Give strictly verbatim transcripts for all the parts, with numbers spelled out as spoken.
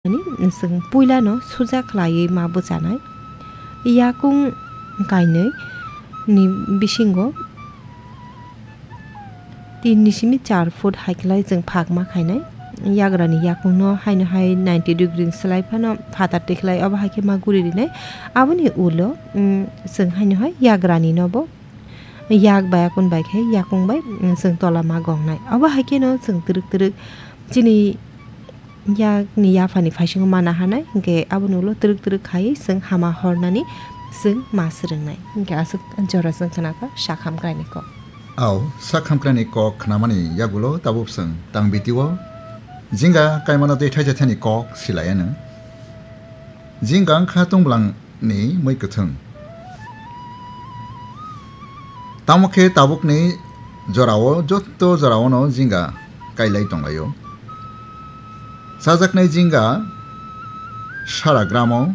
Ani chwng puilano suja khlaiwi ma bwchanai. Yakung kainwi ni bisingo tin ni simi char foot hai khlai chwng phak ma khainai. Yagrani yakungno haino hai ninety degree ni slai phano phatar tikhlai, obo hai khe ma guri rinai. Aboni ulo, mm, chwng haino hai yagrani nobo yak bai akun bai khe yakung bai, mm, chwng tola ma gongnai. Obo hai kheno chwng twrwk twrwk chini yakni yaphani phaisingo mana hanai, hinkhe aboni ulo twrwk twrwk khaiwi chwng hama hornani chwng ma swrwngnai. Hinkhe aswk jora chwng khna kha sak hamkraini kok. Au, sak hamkraini kok khnamani yagulo tabuk chwng tang bitio jinga kaimano tei thaisa thani kok silaiano. Jinga wngkha tongbolangni mui kwthwng. Tamo khe tabukni jorao, jotto joraono jinga kailai tonglaio. Chajaknai jinga sara gramo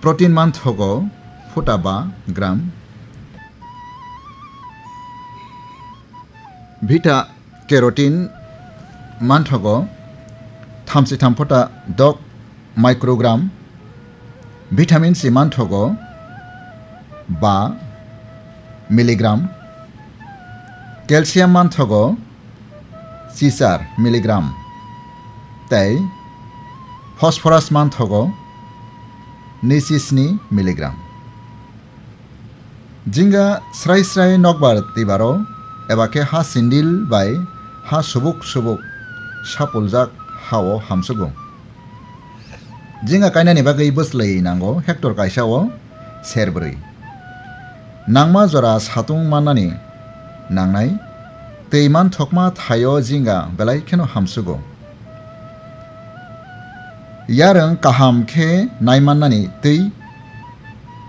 protein manthogo phuta ba gram. Beta carotene manthogo thamsi tham phuta dok microgram, vitamin C manthogo ba milligram, calcium manthogo chichar milligram, tei phosphorus manthogo nisi sni milligram. Jinga srai srai nokbar twibaro eba khe ha sindil bai ha subuk subuk sapuljak hao hamsugo. Jinga kainani bagwi bwslwi nango hectare kaisa o serbrwi. Nangma jora satung mannani nangnai, twi manthokma thaio jinga belai kheno hamsugo. Yarwng kaham khe naimannani twi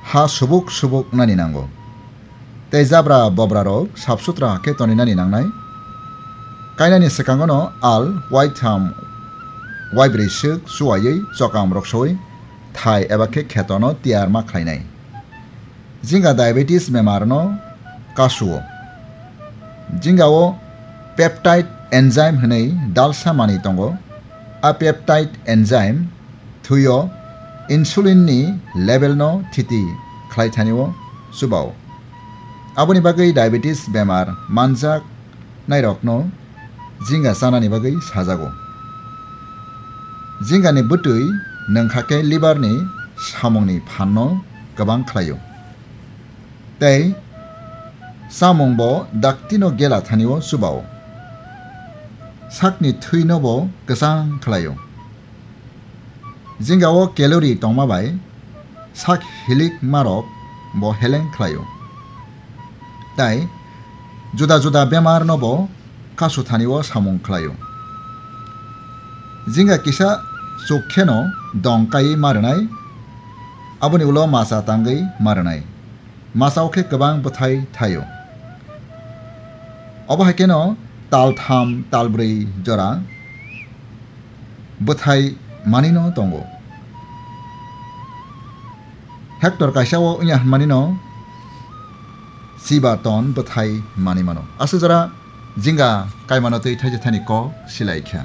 ha subuk subuk nani nango. Tei jabra bobrarok sap sutra khe toninani nangnai. Kainani swkangono al, waitham, waibrwi swk chuwaiwi chokam roksowi thai eba khe khetono tiyar ma khlainai. Jinga diabetes bemarno kasuo. Jingao peptide enzyme hwnwi dalsa manwi tongo. A peptide enzyme thwio insulin ni level no thiti khlai thani o chubao. Aboni bagwi diabetes bemar manjak nairokno jinga chanani bagwi sajago. Jingani bwtwi nwngkha khe liver ni samungni phanno kwbang khlaio. Tei chamungbo daktino gela thani o chubao. Sakni thwino bo kwchang khlaio. Jingao calorie tongma bai sak hilik marok bo heleng khlaio. Tai juda juda bemar no bo kasu thani o samung khlaio. Jinga kisa chuk kheno dong kai ma rwnai, aboni ulo masa tangwi ma rwnai. Masao khe kwbang bwthai thaio. Obo hai kheno tal tham, tal brwi jora bwthai manwino tongo. Hectare kaisa o wngya hwnmanino chiba ton bwthai manwi mano. Aswk jora jinga kaimano twi thaisa thani kok silai kha.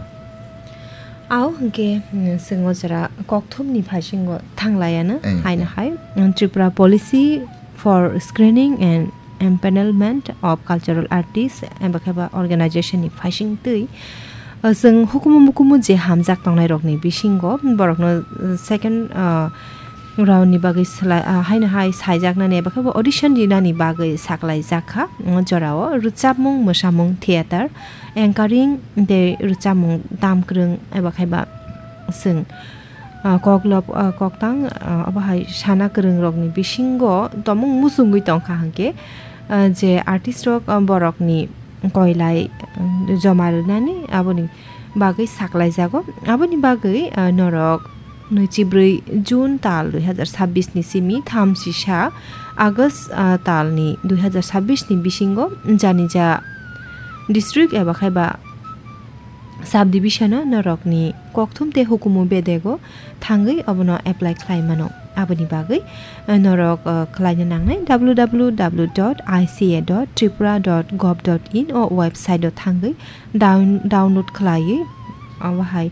Ao hwnkhe, mm, chwng o jora kokthumni phaisingo thanglaiano. Eh, haino eh. Hai, mm, Tripura Policy for Screening and Empanelment of Cultural Artists, eba khe ba organization ni phaising twi, uh, chwng hukumu mukumu je hamjak tongnai rokni bisingo borokno, uh, second, uh, round ni bagwi slai, ah, haino hai saijaknani eba khe bo audition rinani bagwi saklaijak kha. Mm, jorao rwchapmung, mwsamung, theater, anchoring tei rwchapmung tamkwrwng eba khe ba chwng, ah, koklop, ah, koktang, ah, obo hai sana kwrwng rokni bisingo tomung muchungwi tongkha hwnkhe, ah, je artist rok, ah, borokni koilai, ah, joma rwnani aboni bagwi saklaijago. Aboni bagwi, ah, norok nwichibrwi June tal dui hazar sabbish ni simi thamsisa August, ah, tal ni dui hazar sabbish ni bisingo janija district eba khe ba subdivision o norokni kokthum tei hukumu bedego thangwi obono apply khlai mano. Aboni bagwi, eh, norok, eh, khlaina nangnai W W W dot I C A dot tripura dot gov dot in o website o thangwi down-, download khlaiwi obo hai,